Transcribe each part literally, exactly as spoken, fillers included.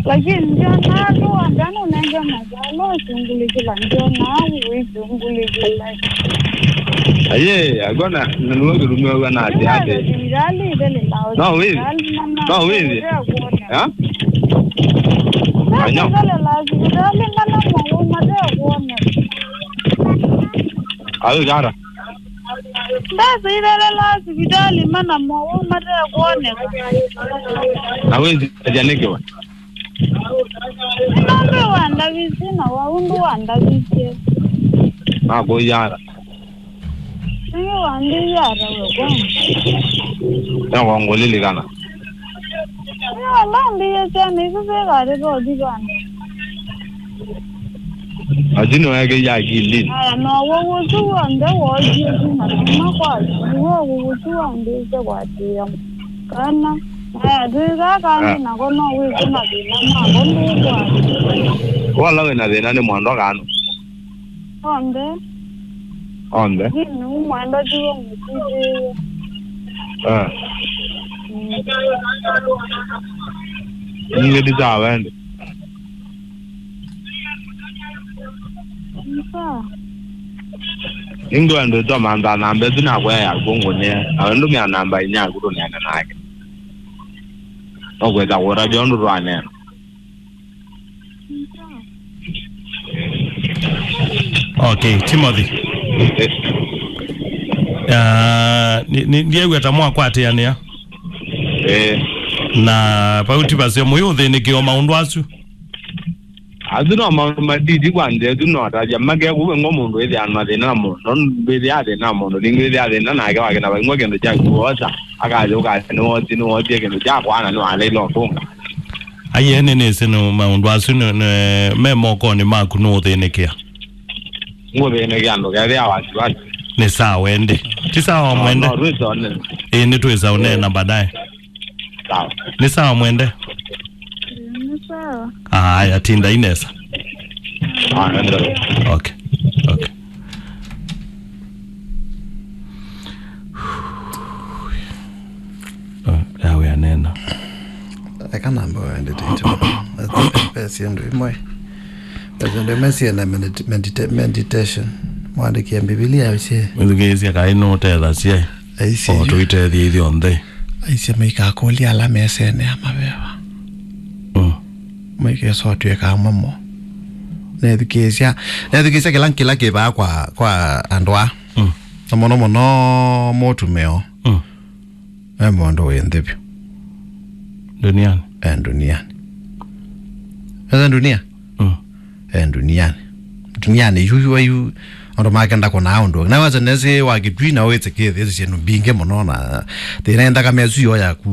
Lakini ndiona andũ andũ nenge mazalo sungulĩkĩla ndiona wĩsungulĩkĩla. Aye, agona, nĩwe kĩrumĩwa na ati ati. Sibitali ĩthelelaa. No wĩthi. No wĩthi. Ha? Anyo. Ĩthelelaa sibitali mana mwaũ matekuoneka. Ayo jara. Mbesa ithelelaa sibitali mana mwaũ matekuoneka. Na wĩthi aja nĩkĩwe. Nĩnambe wandavisye na waundu wandavisye. Nakũyara. Nĩngĩ wambĩie ata we kwanza? Nĩngũlilikana. Nĩwambĩie syana isu syĩkatĩtothi vana. Lakini weke ya akilini. Aya, no wowusu w'onthe wookie kuma kuma kwaku, nĩw'o wowusu wambĩĩsye kwatĩĩa kana. Aya, twĩkaa kangĩ nako no wĩsĩ mathĩna mako ndũkwata. Wala wĩna thĩna nĩ mwendwa kanu. Onthe. Onthe. Lakini nĩu mwendwa tiwe mũtĩtĩĩe. Ah. Mm. Ningĩ ndisawa ende. Nĩngwendete mantha namba ĩsu nakwa ya kũngũnĩa, nawe ndũmĩa namba inya yaku tũneene nake. Nũkwĩta kũtavya ũndũ twaneena. Okay, Timothy. Eh. Ah, nĩ- nĩ- ndiew'a ta mwakwatĩanĩa. Eh. Na vau ti vaseo mũyũthĩnĩkĩo maũndũ asu. Asu no maũndũ matiti kwa nthĩ, asu no atavya make kũu eng'o mũndũ ĩthĩa mathĩna na mũndũ, no mbĩthĩa athĩna na mũndũ, ningĩ ĩthĩa athĩna nake wakĩna vaing'wa kĩndũ kya kuosa, akayũka nĩwosie, nĩwosie kĩndũ kya kwana, nĩwaleile ũtũnga. Aiee, nĩnĩsĩ nĩ maũndũ asu nĩ- nĩ- me mokonĩ maku nũũthĩnĩkĩa. Ngũthĩnĩkĩa ndũkethĩa wasiwasi. Nĩ sawa ende. Ti sawa mwende. No, twĩsa ũnene. Ĩĩ, nĩtwĩsa ũneena baadaye. Sawa. Nĩ sawa mwende. Nĩ sawa. Aya, tindai nesa. Ah, ndio. Okay. Okay. Oh, yawe anena. Eka namba wendete icho. Pesi ndo imwe. Pesi ndo imwe si na medit- medita- meditation. Mwandĩkie Biblia usie. Mwĩthukĩĩsya kaĩ nũũtethasya. Aisye o yu. Tũitethie ithyonthe. Aisye maikakũlya ala mesene ya maveva. Mm. Maikesa ũtw'ĩka amwe mo. Nethukĩĩsya, nethukĩĩsya kĩla kĩla kĩvaa kwa kwa andũ a. Mm. Na mũno mũno mũtumĩo. Mm. E mũndũ wĩ nthĩ vyũ. Duniani. E duniani. Esa dunia? Mm. E duniani. Duniani yu yu yu andũ makenda kũnaa ũndũ. Na wasa nesi wa kĩtwi na wĩtĩkĩthĩsye syĩndũ mbingĩ mũno na thĩna nthakame ĩsu yo yaku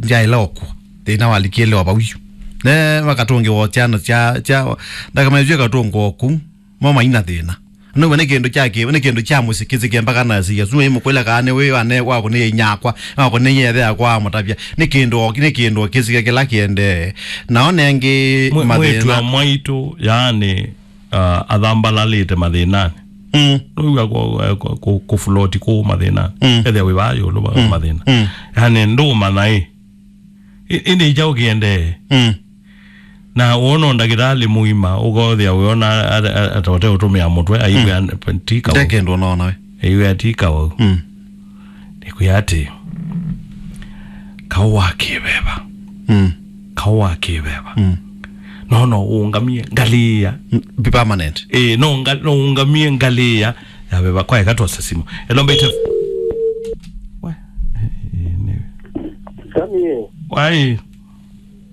njaĩla okwa. Thĩna walikĩle o vau yu. Ne makatũngĩwa syana sya sya nthakame ĩsu ĩkatũngwa oku. Mo maina thĩna. Nũwe nĩ kĩndũ kya kĩ- nĩ kĩndũ kya mũsyĩ kĩsĩke mpaka na siya suma imũkwĩla kana nĩ wĩ ane wako nĩ inyakwa wako nĩ yethe yakwa amũtavya nĩ kĩndũ o- nĩ kĩndũ o kĩsĩke kĩla kĩendee. Nao nengĩ Mwe- mwĩĩtu wa mathĩna. Mwaitũ yaani, uh, athambalalĩte mathĩnanĩ. Mm. Nũiwa kũ- kũ- kũ- kũfuloti kũu mathĩnanĩ. Mm. Ethĩa wĩ vaa yũlũ wa Mm. mathĩna. Mm. Yaani ndũũmanya ĩ. Ĩ- ĩndĩ kyaũ kĩendee? Mm. Na wona ndakĩtalĩ mũima ũkothĩa wĩona atote ũtũmĩa mũtwe aiwĩa ti kaũ. Nde kĩndũ ũnaona we. Aiwĩa ti kaũ. Mm. Nĩkwĩa atĩ kaũ wa kĩveva. Mm. Kaũ wa kĩveva. Mm. No no ũngamie ngalĩĩa. Mm, be permanent. Ĩĩ, no nga- no ũngamie ngalĩĩa ya veva. Kwa eka twosa simu. Hello, Mbaitu. Wa- ĩĩ, nĩ- Sami. Wai.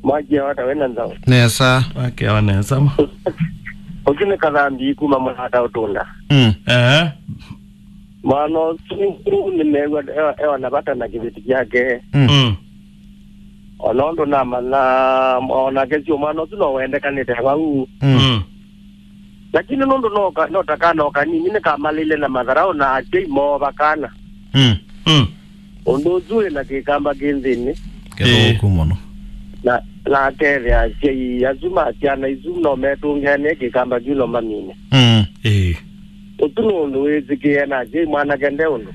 Mwakia wata wena nzao. Nesa. Wake wa nesa ma. Ũsu nĩ Kathambi kuma Mũlata Ũtũnda. Mm. Eh. Mwana ũsu nĩmew'a ewa- ewa na vata na kĩveti kyake. Mm. Mm. Ona ũndũ namanya onake sio mwana ũsu no wendekanĩte vau. Mm. Mm. Lakini nũndũ no ka- no ta kana o kanini nĩkamalĩile na matharaũ na asyai moo vakana. Mm. Mm. Ũndũ ũsu wĩ na kĩkamba kĩ nthĩnĩ. Kĩthũku mũno. Na na akethĩa asyai asu ma syana isu no metũngĩanĩe kĩkamba kyu no mamine. Mm. Ĩĩ. Ũsu nĩ ũndũ wĩsĩkĩe na asyai mwanake nde ũndũ.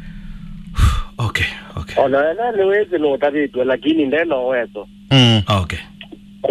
Okay, okay. Ona wetha nĩwĩsĩ nũtavĩtw'e lakini nde no weso. Mm. Okay.